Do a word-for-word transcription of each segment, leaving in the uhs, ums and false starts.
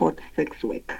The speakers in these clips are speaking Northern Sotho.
support sex work.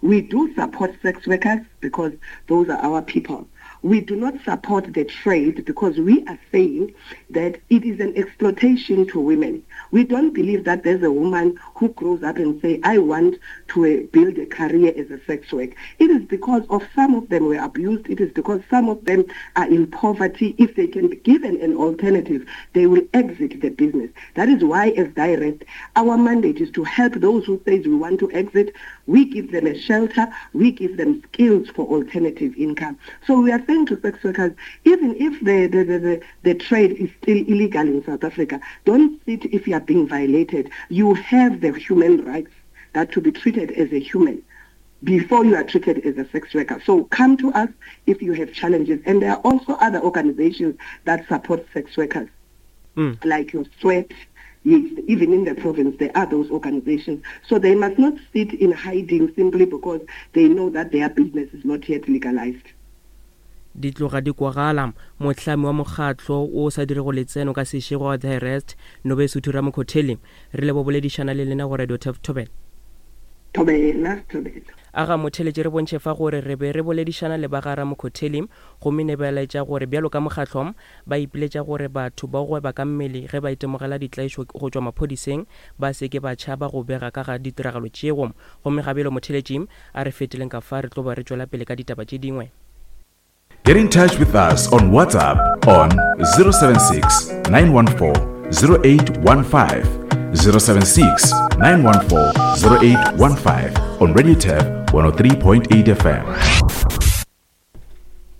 We do support sex workers because those are our people. We do not support the trade because we are saying that it is an exploitation to women. We don't believe that there's a woman who grows up and say, I want to uh, build a career as a sex worker. It is because of some of them were abused. It is because some of them are in poverty. If they can be given an alternative, they will exit the business. That is why as Direct, our mandate is to help those who say we want to exit. We give them a shelter. We give them skills for alternative income. So we are saying to sex workers, even if the, the, the, the, the trade is still illegal in South Africa, don't sit if you are being violated. You have the human rights that to be treated as a human before you are treated as a sex worker. So come to us if you have challenges. And there are also other organizations that support sex workers, mm. like your Sweat. Yes, even in the province, there are those organizations. So they must not sit in hiding simply because they know that their business is not yet legalized. Di tloga di kwagala. Mohlami wa mokgatlo o sa dirego letseno ka sešego wa Direct, Nobesuthu Ramokhotheli, re lebo boledišana le lena go Radio Turf. Thobela. Thobela, thobela. Aga motheletše, re bontšhe fa gore re be re boledišana le ba ga Ramokhotheli, gomme ne ba laetša gore bjalo ka mokgatlo ba ipiletša gore batho ba gweba ka mmele ge ba itemogela ditlaišo go tšwa maphodiseng ba se ke ba tšhaba go bega ka ga ditiragalo tšeo. Gomme gabjalo motheletši, a re feteleng ka fa, re tlo ba re tšwela pele ka ditaba tše dingwe. Get in touch with us on WhatsApp on zero seven six nine one four zero eight one five, zero seven six nine one four zero eight one five on Radio Turf one oh three point eight F M.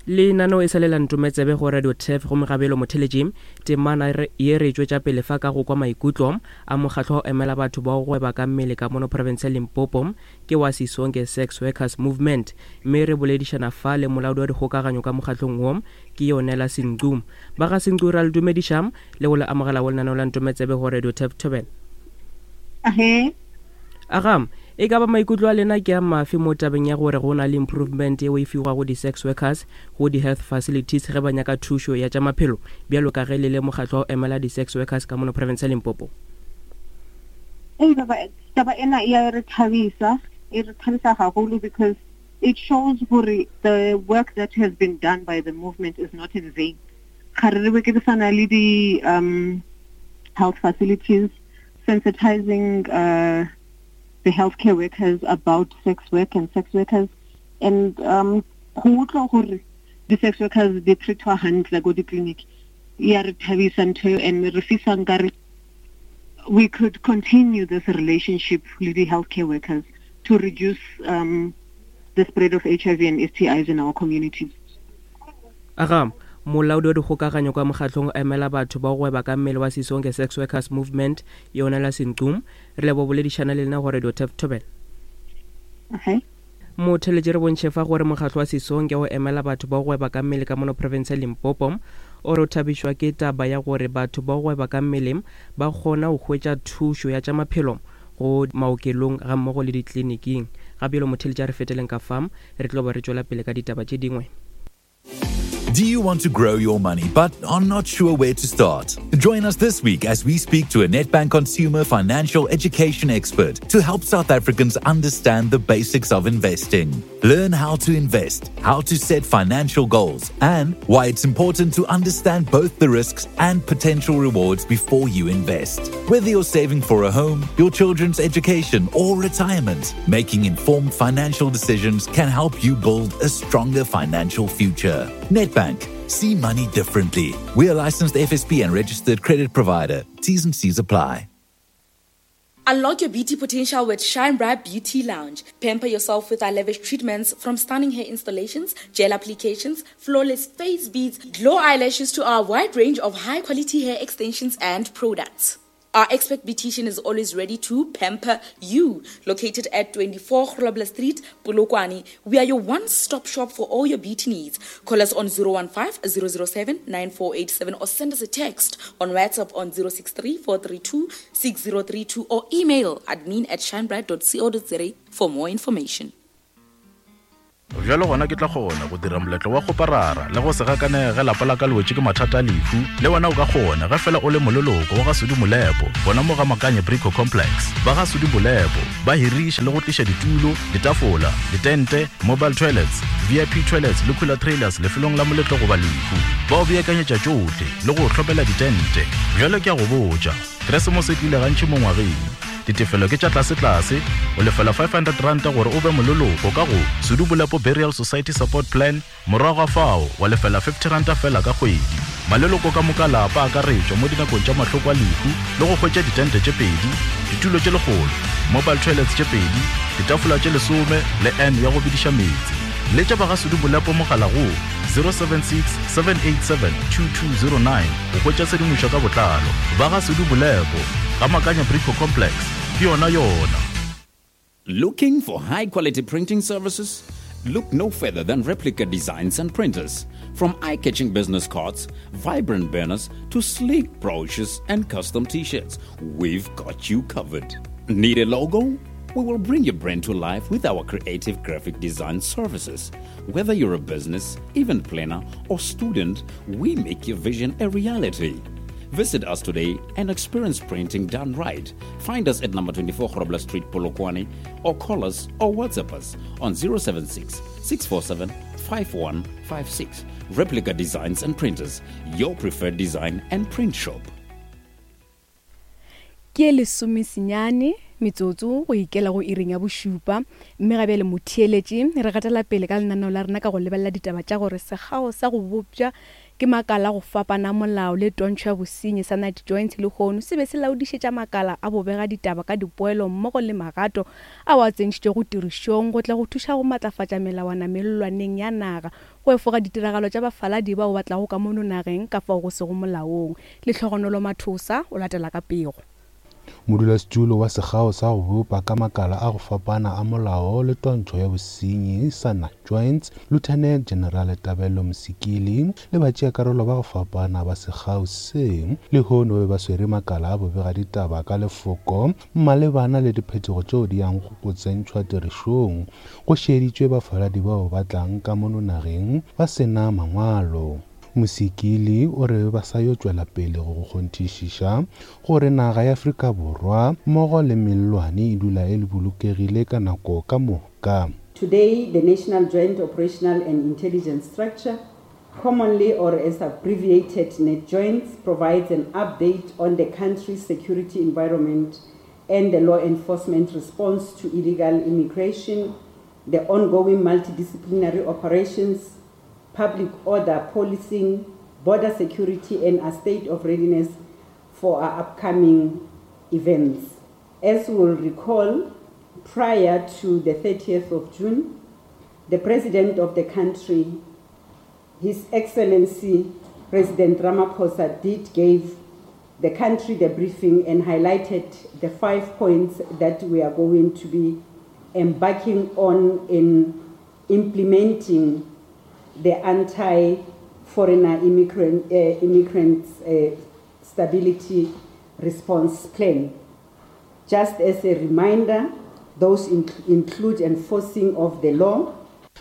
Lenaneo e sa le la Ntometsebe go Radio Turf. Gomme gabelo motheletši, temana ye re tšwetša pele fa ka go kwa maikutlo a mokgatlo wa go emela batho ba go gweba ka mmele ka mono province ya Limpopo, ke wa Sisonke Sex Workers Movement, mme re boledišana fa le molaodi wa dikgokaganyo ka mokgatlong wo, ke Yonela Senqu. Ba ga Senqu, ra le dumediša le go le amogela go lenaneo la Ntometsebe go Radio Turf. Thobela. Ahe. Aga, e ka ba maikutlo a lena ke a mafe mo tabeng ya gore go na le improvement yeo e fiwago di-sex workers go di-health facilities ge ba nyaka thušo ya tša maphelo, bjalo ka ge le le mokgatlo wa go emela di-sex workers ka mono province ya Limpopo? Ei baba, taba ena e ya re thabisa, e re thabisa haholo because it shows gore the work that has been done by the movement is not in vain. Ga re re berekisana le di um health facilities, sensitizing uh, the healthcare workers about sex work and sex workers, and um go utlwa gore di-sex workers di treatwa hantle ko di-clinic ya re thabisa ntho eo, and re fisa nkare we could continue this relationship with the healthcare workers to reduce um, the spread of H I V and S T Is in our communities. Aga, molaodi wa dikgokaganyo ka mokgatlong o emela batho ba go gweba ka mmele wa Sisonke Sex Workers Movement, Yonela Senqu, re lebo boledišana le lena go Radio Turf. Thobela. Okay. Motheletše, re bontšhe fa gore mokgatlo wa Sisonke o emela batho ba go gweba ka mmele ka mono province ya Limpopo o re o thabišwa ke taba ya gore batho ba go gweba ka mmele ba kgona go hwetša thušo ya tša maphelo go maokelong ga mmogo le ditleliniking. Gabjalo motheletše, a re feteleng ka fa, re tlo ba re tšwela pele ka ditaba tše dingwe. Do you want to grow your money but are not sure where to start? Join us this week as we speak to a Nedbank consumer financial education expert to help South Africans understand the basics of investing. Learn how to invest, how to set financial goals, and why it's important to understand both the risks and potential rewards before you invest. Whether you're saving for a home, your children's education, or retirement, making informed financial decisions can help you build a stronger financial future. Nedbank. See money differently. We are licensed F S P and registered credit provider. T's and C's apply. Unlock your beauty potential with Shine Bright Beauty Lounge. Pamper yourself with our lavish treatments, from stunning hair installations, gel applications, flawless face beads, glow eyelashes to our wide range of high quality hair extensions and products. Our expert beautician is always ready to pamper you. Located at twenty-four Grobler Street, Polokwane, we are your one-stop shop for all your beauty needs. Call us on zero one five zero zero seven nine four eight seven or send us a text on WhatsApp on zero six three four three two six zero three two or email admin at shinebright dot co dot za for more information. Bjalo gona ke tla kgona go dira moletlo wa kgoparara le go se gakanege ge lapa la ka le wetše ke mathata a lehu. Le wena o ka kgona ge fela o le moleloko wa ga Sudi Molepo gona mo ga Makanye Brico Complex. Ba ga Sudi Molepo ba hiriša le go tliša ditulo, ditafola, ditente, mobile toilets, V I P toilets le cooler trailers lefelong la moletlo goba lehu. Ba o beakanyetša tšohle le go hlopela ditente. Bjalo ke a go botša, Keresemose e tlile gantši mo ngwageng. Ditefelo ke tša tlase-tlase, o lefela five hundred rand gore o be moleloko ka go Sudi Bolepo Burial Society Support Plan, morago ga fao wa lefela fifty rand fela ka kgwedi. Maleloko ka moka lapa a akaretšwa mo dinakong tša mahloko a lehu le go hwetša ditente tše pedi, ditulo tše lekgolo, mobile toilets tše pedi, ditafola tše lesome le N ya go bidiša meetse. Letša ba ga Sudi Bolepo mogala go zero seven six, seven eight seven, two two zero nine go hwetša tshedimošo ka botlalo. Ba ga Sudi Bolepo, ga Makanya Brico Complex, ke yona yona. Looking for high-quality printing services? Look no further than Replica Designs and Printers. From eye-catching business cards, vibrant banners, to sleek brochures and custom t-shirts, we've got you covered. Need a logo? We will bring your brand to life with our creative graphic design services. Whether you're a business, event planner, or student, we make your vision a reality. Visit us today and experience printing done right. Find us at number twenty-four Grobler Street, Polokwane, or call us or WhatsApp us on zero seven six, six four seven, five one five six. Replica Designs and Printers, your preferred design and print shop. Ke lesome senyane metsotso go ikela go iring ya bošupa, mme ga bjale motheeletši re gatela pele ka lenaneo la rena ka go lebelela ditaba tša gore sekgao sa go bopša ke makala go fapana molao le twantšho ya bosenyi sa Night Joints lehono se be se laodišetša makala a bobega ditaba ka dipoelo mmogo le magato ao a tsentšhitšego tirišong go tla go thuša go matlafatša melawana mellwaneng ya naga go efoga ditiragalo tša bafaladi bao ba tlago ka mono nageng ka fao go sego molaong. Lehlogonolo Mathosa o latela ka pego. Modulasetulo wa sekgao sa go bopa ka makala a go fapana a molao le twantšho ya bosenyi sa Night Joints, Lieutenant General Tabelo Mosikili le batšeakarolo ba go fapana ba sekgao se lehono be ba swere makala a bobega ditaba ka lefoko malebana le diphetogo tšeo di yang go tsentšhwa tirišong go šeditšwe bafaladi bao ba tlang ka mono nageng ba sena mangwalo. Mosikili o re ba sa yo tšwela pele go kgonthišiša gore naga ya Afrika Borwa mmogo le mellwane e dula e bolokegile ka nako ka moka. Today, the National Joint Operational and Intelligence Structure, commonly or as abbreviated NatJoints, provides an update on the country's security environment and the law enforcement response to illegal immigration, the ongoing multidisciplinary operations, public order policing, border security, and a state of readiness for our upcoming events. As you will recall, prior to the thirtieth of June, the President of the country, His Excellency President Ramaphosa, did give the country the briefing and highlighted the five points that we are going to be embarking on in implementing the anti-foreigner immigrant, uh, immigrants, uh, stability response plan. Just as a reminder, those in- include enforcing of the law.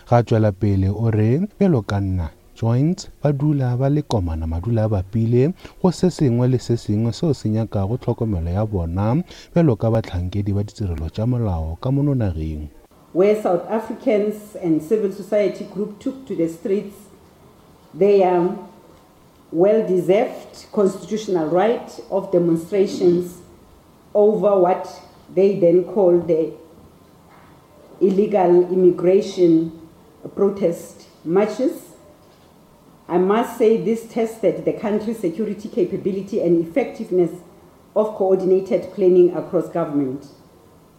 Ga tšwela pele o re bjalo ka nna Joints ba dula ba le komana madula a bapile go se sengwe le se sengwe seo se nyakago tlhokomelo ya bona bjalo ka bahlankedi ba ditirelo tša molao ka mono nageng. Where South Africans and civil society group took to the streets their well-deserved constitutional right of demonstrations over what they then called the illegal immigration protest marches. I must say this tested the country's security capability and effectiveness of coordinated planning across government.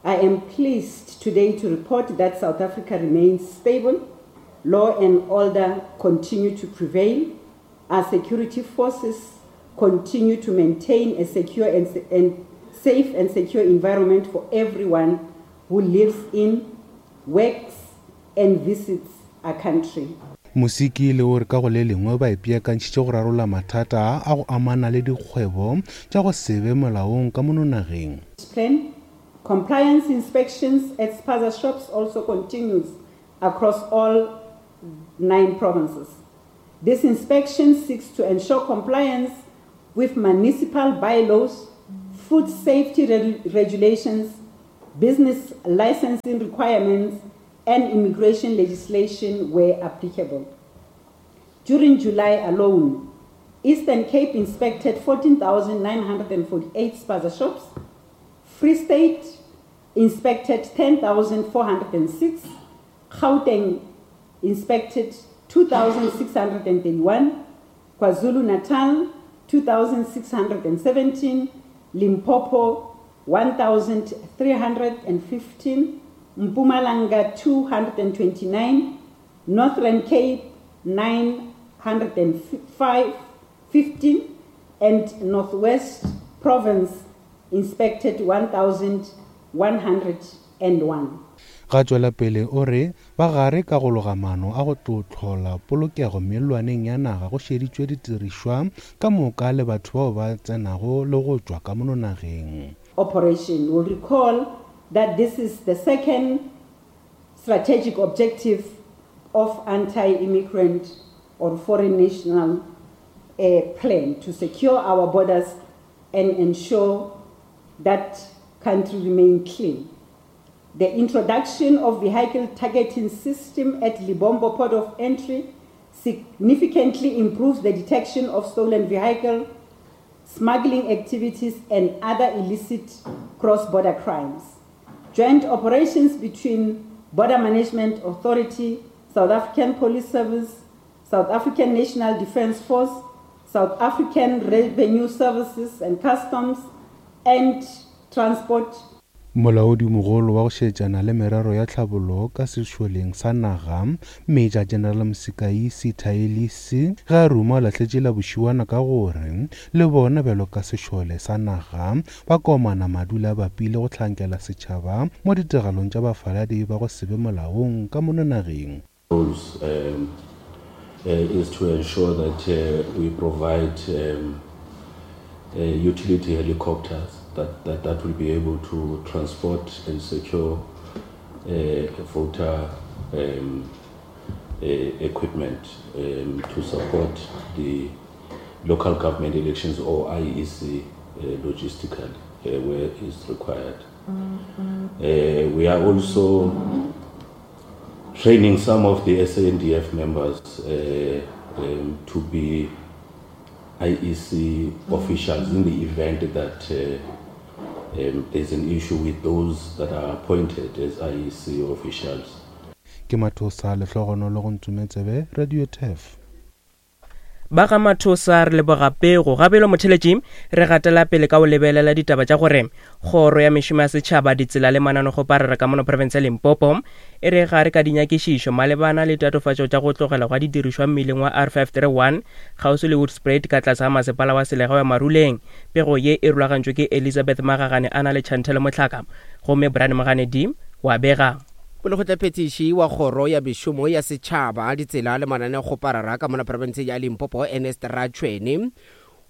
I am pleased today to report that South Africa remains stable, law and order continue to prevail, our security forces continue to maintain a secure and, and safe and secure environment for everyone who lives in, works and visits our country. Mosikili o re ka go le lengwe ba ipeakantšhitše go rarolla mathata a go amana le dikgwebo tša go se be molaong ka mono nageng. Plan. Compliance inspections at spaza shops also continues across all nine provinces. This inspection seeks to ensure compliance with municipal bylaws, food safety reg- regulations, business licensing requirements, and immigration legislation where applicable. During July alone, Eastern Cape inspected fourteen thousand nine hundred forty-eight spaza shops, Free State inspected ten thousand four hundred six, Gauteng inspected two thousand six hundred thirty-one, KwaZulu-Natal two thousand six hundred seventeen, Limpopo one thousand three hundred fifteen, Mpumalanga two hundred twenty-nine, Northern Cape nine hundred five, fifteen, and Northwest Province inspected one thousand one hundred one. Ga tšwela pele o re ba gare ka go loga maano a go tlo hlola polokego mellwaneng ya naga go šeditšwe ditirišwa ka moka le batho bao ba tsenago le go tšwa ka mono nageng. Operation will recall that this is the second strategic objective of anti-immigrant or foreign national uh, plan to secure our borders and ensure that country remain clean. The introduction of vehicle targeting system at Lebombo port of entry significantly improves the detection of stolen vehicle, smuggling activities, and other illicit cross-border crimes. Joint operations between Border Management Authority, South African Police Service, South African National Defence Force, South African Revenue Services and Customs, and Transport. Molaodimogolo wa go šetšana le merero ya tlhabollo ka sešoleng sa naga, Major General Msikayi Sithaelisi, ge a ruma o lahletše la bošiwana ka gore le bona bjalo ka sešole sa naga ba komana madula bapile go hlankela setšhaba mo ditiragalong tša bafaladi ba go se be molaong ka mono nageng. Um, uh, is to ensure that uh, we provide um, uh, utility helicopters that, that, that will be able to transport and secure uh, voter um, uh, equipment um, to support the local government elections or I E C uh, logistically uh, where is required. Mm-hmm. Uh, we are also training some of the S A N D F members uh, um, to be I E C officials in the event that uh, um, there's an issue with those that are appointed as I E C officials. Ke Mathosa Lehlogonolo go Ntsumetsebe, Radio T F. Ba ga Mathosa re leboga pego gabelo motheletši re gatela pele ka o lebelela ditaba tša gore kgoro ya mešomo ya setšhaba ditsela le mananegopharara ka mono province ya Limpopo e re gare ka dinyakišišo malebana le tatofatšo tša go tlogela gwa didirišwa mmeleng wa R five three one kgauswi le Woodspruit ka tlase ga masepala wa selegae wa Maruleng. Pego ye e rulagantšwe ke Elizabeth Magagane a na le Chantelle Motlhaka gomme Brian Moganedi wa bega. Molekgotlaphethiši wa kgoro ya mešomo ya setšhaba ditsela le mananeokgoparara ka mona profense ya Limpopo Ernest Ratshwene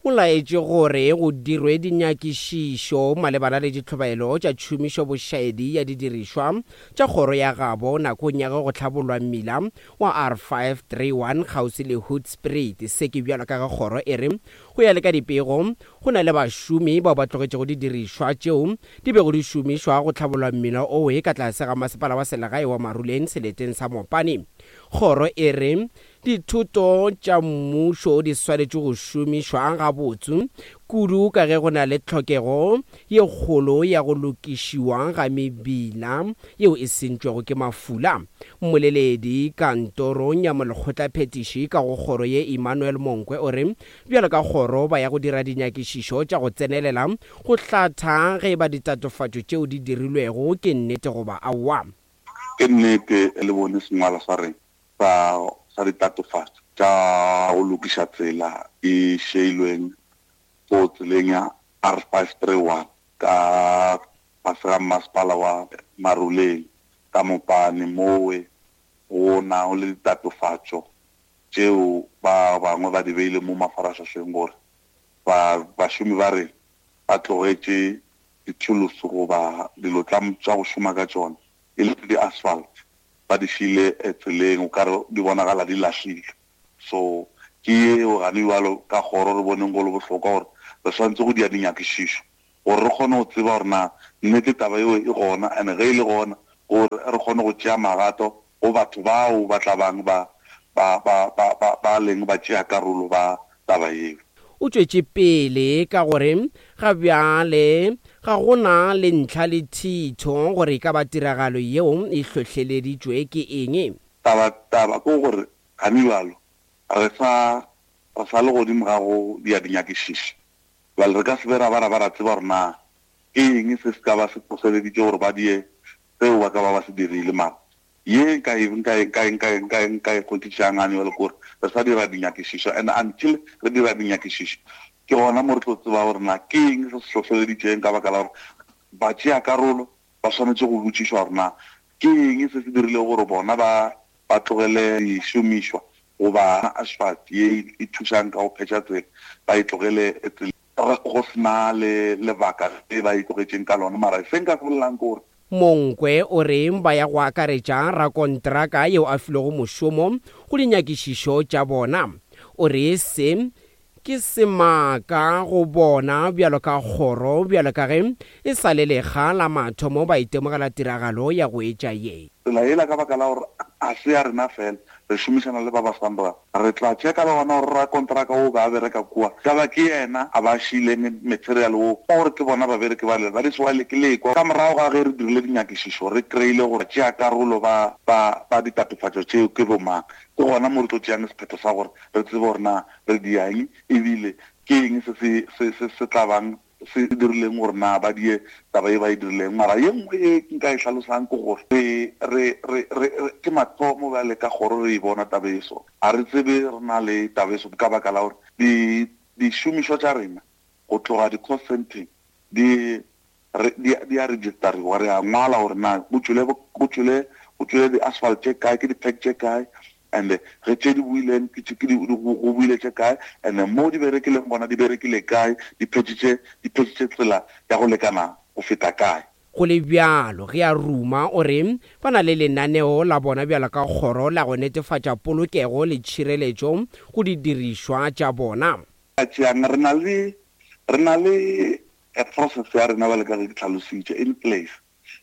o laetše gore go dirwe dinyakišišo malebana le ditlhobaelo tša tšhomišo bošaedi ya didirišwa tša kgoro ya gabo nakong ya ge go hlabollwa mmila wa R five three one kgauswi le Hoedspruit. Se ke bjalo ka ge kgoro e re go ya le ka dipego go na le bašomi bao ba tlogetšego didirišwa tšeo di bego di šomišwa go hlabollwa mmila owe ka tlase ga masepala wa selegae wa Maruleng seleteng sa Mopani. Kgoro e re dithuto tša mmušo di swanetše go šomišwa gabotse kudu ka ge go na le tlhokego ye kgolo ya go lokišiwa ga mebila yeo e sentšwego ke mafula. Mmoleledi kantorong ya molekgotlaphethiši ka go kgoro ye Emmanuel Monkwe o re bjalo ka kgoro ba ya go dira dinyakišišo tša go tsenelela go hlatha ge ba ditatofatšo tšeo di dirilwego ke nnete goba aowa. Ke nnete le bone sengwalo sa reng sa sa ditatofatšo tša go lokiša tsela e šeilweng go tseleng ya R five three one ka fase ga masepala wa Maruleng ka Mopani mowe go nago le ditatofatšo tšeo ba bangwe ba di beile mo mafaratlhahleng gore ba bašomi ba re ba tlogetše dithulusi goba dilo tša go šoma ka tšona e le di-asphalt ba di šiile tseleng, o kare di bonagala di lahlile. So ke yeo gane bjalo ka kgoro re boneng go le bohlokwa gore re swanetše go dia dinyakišišo gore re kgone go tseba gore na nnete taba eo e gona, and ge e le gona gore re kgone go tšea magato go batho bao ba tla bang ba ba ba ba ba ba leng ba tšea karolo ba taba eo. O tšwetše pele ka gore ga bjale ga gona le ntlha le thitho gore e ka ba tiragalo yeo e hlohleleditšwe ke eng. Taba taba ke gore gane bjalo re sa re sa le godimo ga go dia dinyakišišo. Bjale re ka se be ra ba ra ba ra tseba gore na ke eng se se ka ba se hlohleleditše gore ba die seo ba ka ba ba se dirile. Mara ye nka e nka e nka e nka e nka e nka e kgonthišang gane bjale ke gore re sa dira dinyakišišo, and until re dira dinyakišišo ke gona mo re tlo tseba gore na ke eng se se hlohleleditšeng, ka baka la gore ba tšea karolo ba swanetše go botšišwa gore na ke eng se se dirilego gore bona ba ba tlogele dišomišwa goba asphalt ye e thušang ka go phetša tsela ba e tlogele tsela go sena le lebaka le ba e tlogetšeng ka lona. Mara se nka se bolelang ke gore Monkwe o re ba ya go akaretša rakontraka yeo a filwego mošomo go dinyakišišo tša bona. O re se ke semaka go bona bjalo ka kgoro, bjalo ka ge e sa le lekga la mathomo ba itemogela tiragalo ya go etša ye. Tsela ela ka baka la gore a se ya rena fela, re šomišana le ba ba SANRAL, re tla checka le gona gore rakontraka o ba bereka kua ka ba ke yena a ba šiileng material wo, gore ke bona babereki ba le ba di swale ke lekwa. Ka morago ga ge re dirile dinyakišišo re kry-ile gore tšea karolo ba ba ba ditatofatšo tšeo ke bomang, ke gona mo re tlo tšeang sephetho sa gore re tsebe gore na re diang ebile ke eng se se se se se tla bang se dirileng gore na ba die taba e ba e dirileng. Mara ye nngwe e nka e hlalosang ke gore re re re re ke mathomo bjale ka kgoro re e bona taba e so, a re tsebe re na le taba e so ka baka la gore di dišomišwa tša rena go tloga di-cost centeng di di di a registeriwa, re a ngwala gore na go tšwele go tšwele go tšwele di-asphalt tše kae, ke di-pack tše kae, and ge tše di buileng ke di go buile tše kae, and mo di berekileng gona di berekile kae, di phetšitše di phetšitše tsela ya go lekana go feta kae. Go le bjalo ge a ruma o re ba na le lenaneo la bona bjalo ka kgoro la go netefatša polokego le tšhireletšo go didirišwa tša bona. Tšeang re na le re na le a process ya rena bjalo ka ge ke tlhalositše in place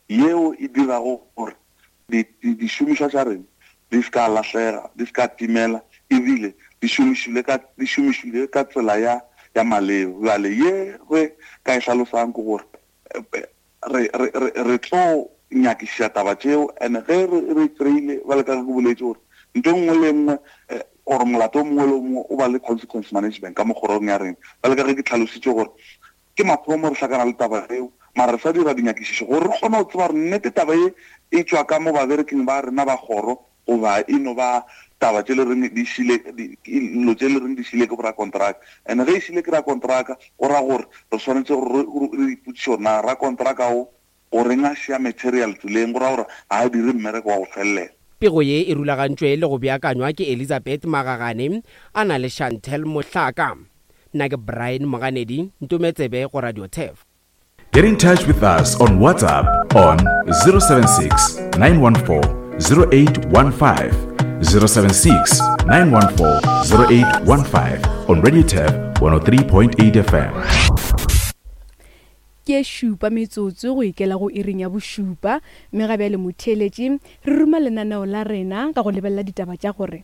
yeo e dirago gore dišomišwa tša rena di ska lahlega, di ska timela, ebile di šomišile ka di šomišile ka tsela ya ya maleba. Bjale ye re ka e hlalosang ke gore re re re re tlo nyakišiša taba tšeo, and ge re re kry-ile bjalo ka ge ke boletše gore ntho e nngwe le nngwe or molato o mongwe le o mongwe o ba le consequence management ka mo kgorong ya rena. Bjalo ka ge ke tlhalositše gore ke mathomo re hlakana le taba eo, mara re sa dira dinyakišišo gore re kgone go tseba gore nnete taba ye e tšwa ka mo babereking ba rena ba kgoro goba e no ba taba tše le reng di šile dilo tše le reng di šile ke borakontraka. And ge e šile ke rakontraka go ra gore re swanetše gore re ipotšiše gore na rakontraka o goreng a šia material tseleng, go ra gore ga a dire mmereko wa go felela. Pego ye e rulagantšwe le go beakanywa ke Elizabeth Magagane a na le Chantel Mohlaka. Nna ke Brian Moganedi, Ntometsebe go Radio Turf. Get in touch with us on WhatsApp on zero seven six, nine one four, zero eight one five, zero seven six, nine one four, zero eight one five on Radio Turf one oh three point eight F M. Ke šupa metsotso go ikela go iring ya bošupa, mme ga bjale motheeletši re ruma lenaneo la rena ka go lebelela ditaba tša gore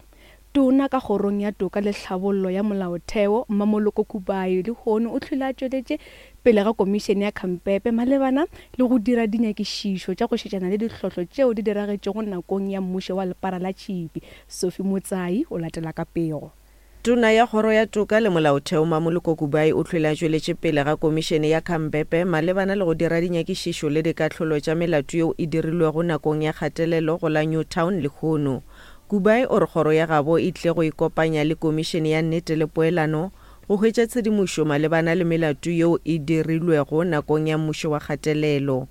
tona ka kgorong ya toka le tlhabollo ya molaotheo Mmamoloko Kubayi lehono o hlwile a tšweletše pele ga komišene ya Khampepe malebana le go dira dinyakišišo tša go šetšana le dihlotlo tšeo di diragetšego nakong ya mmušo wa lepara la tšhipi. Sophie Motsai o latela ka pego. Tona ya kgoro ya toka le molaotheo Mmamoloko Kubayi o hlwile a tšweletše pele ga komišene ya Khampepe malebana le go dira dinyakišišo le dikahlolo tša melato yeo e dirilwego nakong ya kgatelelo go la Newtown lehono. Kubayi o re kgoro ya gabo e tle go ikopanya le komišene ya nnete le poelano go hwetša tshedimošo malebana le melato yeo e dirilwego nakong ya mmušo wa kgatelelo.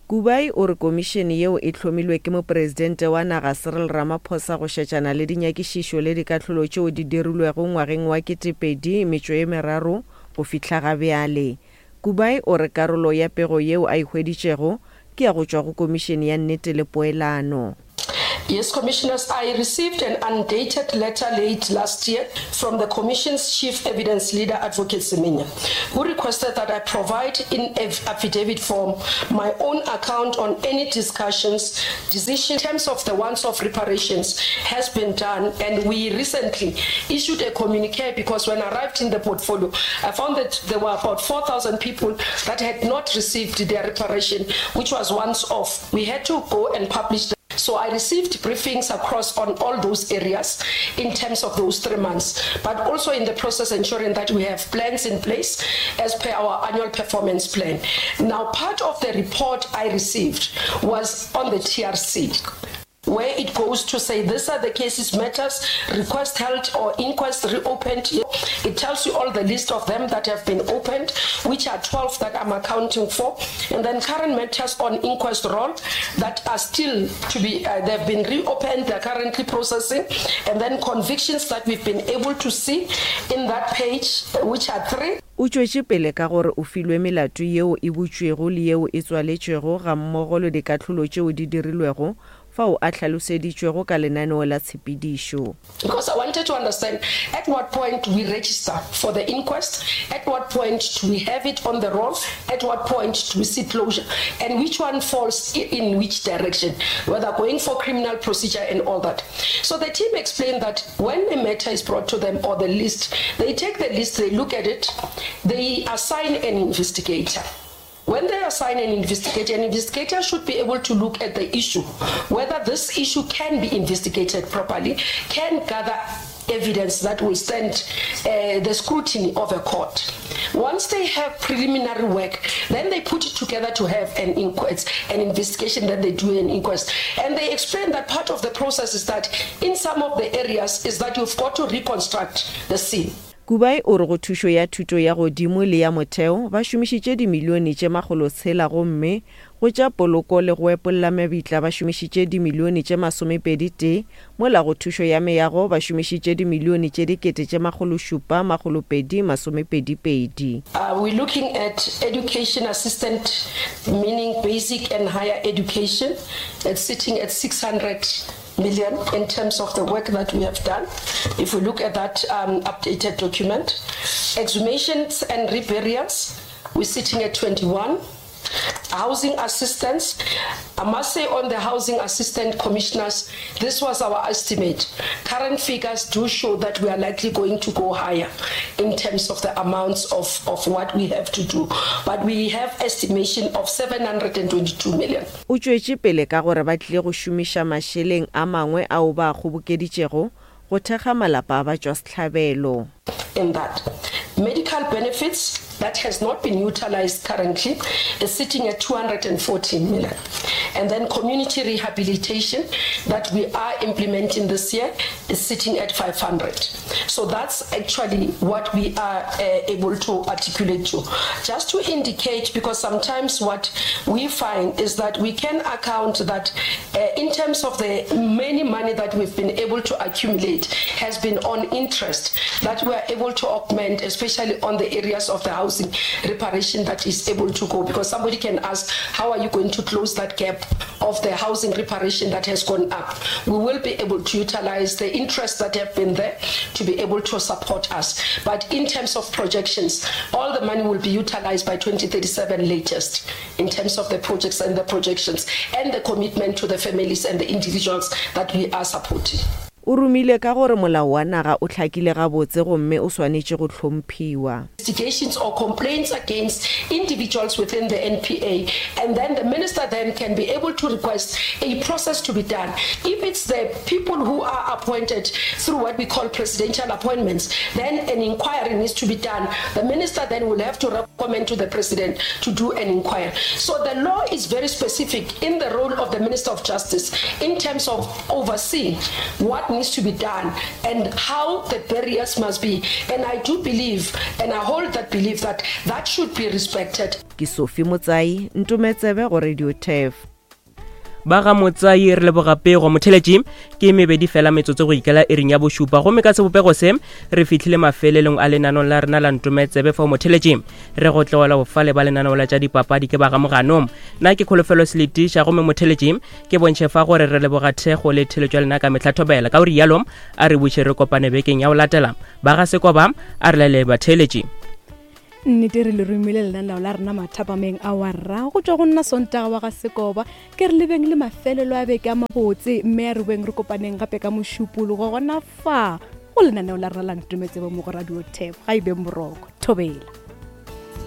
Kubayi o re komišene yeo e hlomilwe ke mopresidente wa naga Cyril Ramaphosa go šetšana le dinyakišišo le dikahlolo tšeo di dirilwego ngwageng wa ketepedi metšo ye meraro go fihla ga bjale. Kubayi o re karolo ya pego yeo a e hweditšego ke ya go tšwa go komišene ya nnete le poelano. Yes, Commissioners, I received an undated letter late last year from the Commission's Chief Evidence Leader, Advocate Semenya, who requested that I provide in affidavit form my own account on any discussions, decisions in terms of the once-off reparations has been done, and we recently issued a communique because when I arrived in the portfolio, I found that there were about four thousand people that had not received their reparation, which was once-off. We had to go and publish the So I received briefings across on all those areas in terms of those three months, but also in the process ensuring that we have plans in place as per our annual performance plan. Now, part of the report I received was on the T R C, where it goes to say these are the cases, matters, request held or inquest reopened. It tells you all the list of them that have been opened, which are twelve that I'm accounting for. And then current matters on inquest roll that are still to be, uh, they've been reopened, they're currently processing. And then convictions that we've been able to see in that page, which are three. O tšwetše pele ka gore o filwe melato yeo e butšwego le yeo e tswaletšwego gammogo le dikahlolo tšeo di dirilwego fao a hlaloseditšwego ka lenaneo la tshepedišo. Because I wanted to understand at what point we register for the inquest, at what point do we have it on the roll, at what point do we see closure, and which one falls in which direction, whether going for criminal procedure and all that. So the team explained that when a matter is brought to them or the list, they take the list, they look at it, they assign an investigator. When they assign an investigator, an investigator should be able to look at the issue, whether this issue can be investigated properly, can gather evidence that will stand, uh, the scrutiny of a court. Once they have preliminary work, then they put it together to have an inquest, an investigation, then they do an inquest. And they explain that part of the process is that in some of the areas is that you've got to reconstruct the scene. Kubai o re go thušo ya thuto ya godimo le ya motheo ba šomišitše dimilione tše makgolo tshela gomme go tša poloko le go epolla mebitla ba šomišitše dimilione tše masomepedi tee, mola go thušo ya meago ba šomišitše dimilione tše dikete tše makgolo šupa makgolo pedi masomepedi pedi. Uh, we're looking at education assistant, meaning basic and higher education. It's sitting at six hundred million in terms of the work that we have done. If we look at that, um, updated document, exhumations and reburials, we're sitting at twenty-one. Housing assistance, I must say on the housing assistant commissioners, this was our estimate. Current figures do show that we are likely going to go higher in terms of the amounts of, of what we have to do. But we have estimation of seven hundred and twenty-two million. O tšwetše pele ka gore ba tlile go šomiša mašeleng a mangwe ao ba a kgobokeditšego go thekga malapa a batšwasehlabelo. In that, medical benefits that has not been utilized currently is sitting at two hundred and fourteen million. And then community rehabilitation that we are implementing this year is sitting at five hundred. So that's actually what we are, uh, able to articulate to. Just to indicate, because sometimes what we find is that we can account that, uh, in terms of the many money that we've been able to accumulate has been on interest that we are able to augment, especially on the areas of the housing reparation that is able to go, because somebody can ask, how are you going to close that gap of the housing reparation that has gone up? We will be able to utilize the interest that have been there to be able to support us. But in terms of projections, all the money will be utilized by twenty thirty-seven latest in terms of the projects and the projections and the commitment to the families and the individuals that we are supporting. O romile ka gore molao wa naga o hlakile gabotse gomme o swanetše go hlomphiwa. Investigations or complaints against individuals within the N P A, and then the minister then can be able to request a process to be done. If it's the people who are appointed through what we call presidential appointments, then an inquiry needs to be done. The minister then will have to recommend to the president to do an inquiry. So the law is very specific in the role of the Minister of Justice in terms of overseeing what needs to be done and how the barriers must be. And I do believe, and I hold that belief, that that should be respected. Ke Sophie Motsai, Ntometsebe go Radio T E F. Ba ga Motsai re leboga pego. Motheletši ke mebedi fela metsotso go ikela iring ya bošupa, gomme ka sebopego se re fihlile mafelelong a lenanong la rena la Ntometsebe. Fao motheletši re go tlogela bofale ba lenaneo la tša dipapadi ke ba ga Moganong. Nna ke Kholofelo Seletiša, gomme motheletši ke bontšhe fa gore re leboga thekgo le theletšo ya lena ka mehla thobela. Ka o rialo a re buše re kopane bekeng ya go latela. Ba ga Sekoba a re laele batheletši. Nnete re le romile lenaneo la rena mathapameng a warra go tšwa go nna Sontaga wa ga Sekoba. Ke re lebeng le mafelelo a beke a mabotse, mme a re boeng re kopaneng gape ka mošupologo gona fa go lenaneo la rena la Ntometsebe mo go Radio Tap. Ga e be moroko thobela.